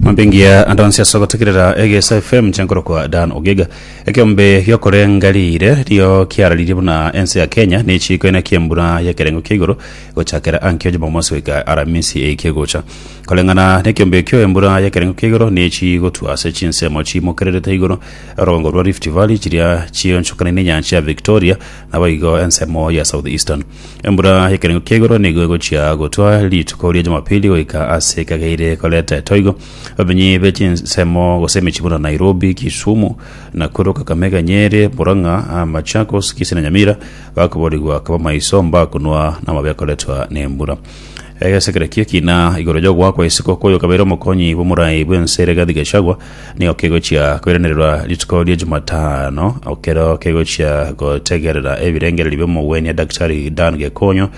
Mambingia ande onsi ase ogotegerera Egesa FM nche nkorokwa Dan Ogega. Ekeombe giokorenga riire rio kiararirie buna ense ya Kenya nechiko ene kiembura y'ekerengo kia igoro gochakera ankio Jumamosi goika Aramisi eye kegocha. Koreng'ana nekeombe ekio embura y'ekerengo kia igoro nechi gotwa ase chinsemo chiimokererete igoro orogongo rwa Rift Valley chiria chionchokanaine enyancha ya Victoria naboigo ensemo ya South Eastern. Embura y'ekerengo kia igoro nigo egochia gotwa rituko ria Jumapili goika ase ekageire koreta etoigo. Abamenyi be chinsemo gose emechie buna Nairobi, Kisumu, Nakuru, Kakamega, Nyeri, Murang'a, Machakos, Kisii na Nyamira bakoborigwa koba maiso mbakunwa namabe akoretwa nembura. Egesekere ki'ekina igoro y'ogoakwa isiko kw'oyo okabeire omokonyi bw'omorai bw'ense Rigathi Gachagua nigo kegochia koiranererwa rituko ria Jumatano ekero kegochia gotegerera ebirengererio bi'omogwenia Daktari Dan Gekonyo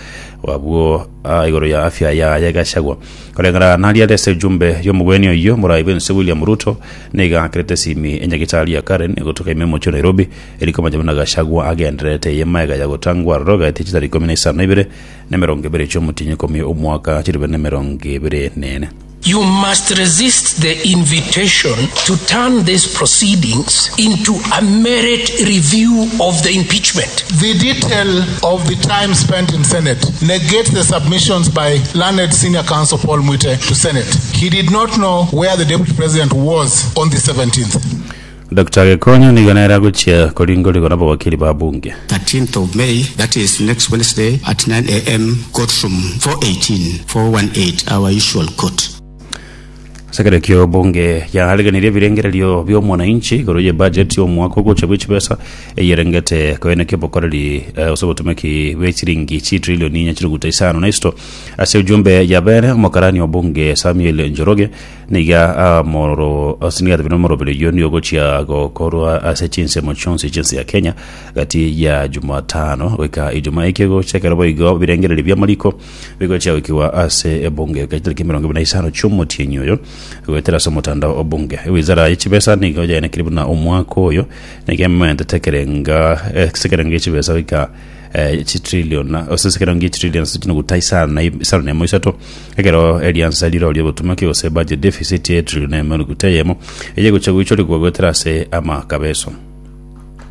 abwo igoro ya afya yaye Gachagua. Koreng'ana naria ase ejumbe y'omogwenia oyio omorai bw'ense William Ruto nigo aakerete esimi enyagitari ya Karen egotoka ime omochie o Nairobi eri komanya buna Gachagua agendererete eye magega ya gotangwa aroro gaetie chitari ikomi na isano na ibere na emerongo ebere chi'omotienyi ikomi omwaka chilifu na emerongo ebere nene. You must resist the invitation to turn these proceedings into a merit review of the impeachment. The detail of the time spent in Senate negates the submissions by learned senior counsel Paul Muite to Senate. He did not know where the deputy president was on the 17th. Doctor Gekonyo nigo nere agochia koringorigwa nabawakili ba bunge. 13th of May, that is next Wednesday at 9 am, courtroom 418, 418, our usual court. Ase ekero ekio bunge yaariganirie ebirengererio bi'omwananchi igoro y'ebudget y'omwaka ogocha bwe chibesa eyerengete koenekia obokoreri eh, gose obotumeki bwe chiringi chitrilioni inya chiruguta isano na isito. Ase ujumbe yabere omokarani o bunge Samuel Njoroge Nigo amoro ase nigo atabire omoroberi oyio nigo ogochia gokorwa ase chinsemo chionsi chi'ense ya Kenya gati ya Jumatano goika Ijumaa eke egocha ekero boigo birengererio bi'amariko bigochia goikigwa ase ebunge goika chitariki 25 chi'omotienyi oyo goetera ase omotandao o bunge. Ewizara ye chibesa nigo yaenekire buna omwaka oyo nigo ementete ekerenga ase ekerengo gie chibesa goika eh, chitrillion ase ekerengo gie chitrillion ase chinuguta isano na isano na emo isato ekero eriansa rirorio obotumeki gose budget deficit ye trillion emo nuguta eyemo eye gocha goichorigwa goetera ase amakabeso.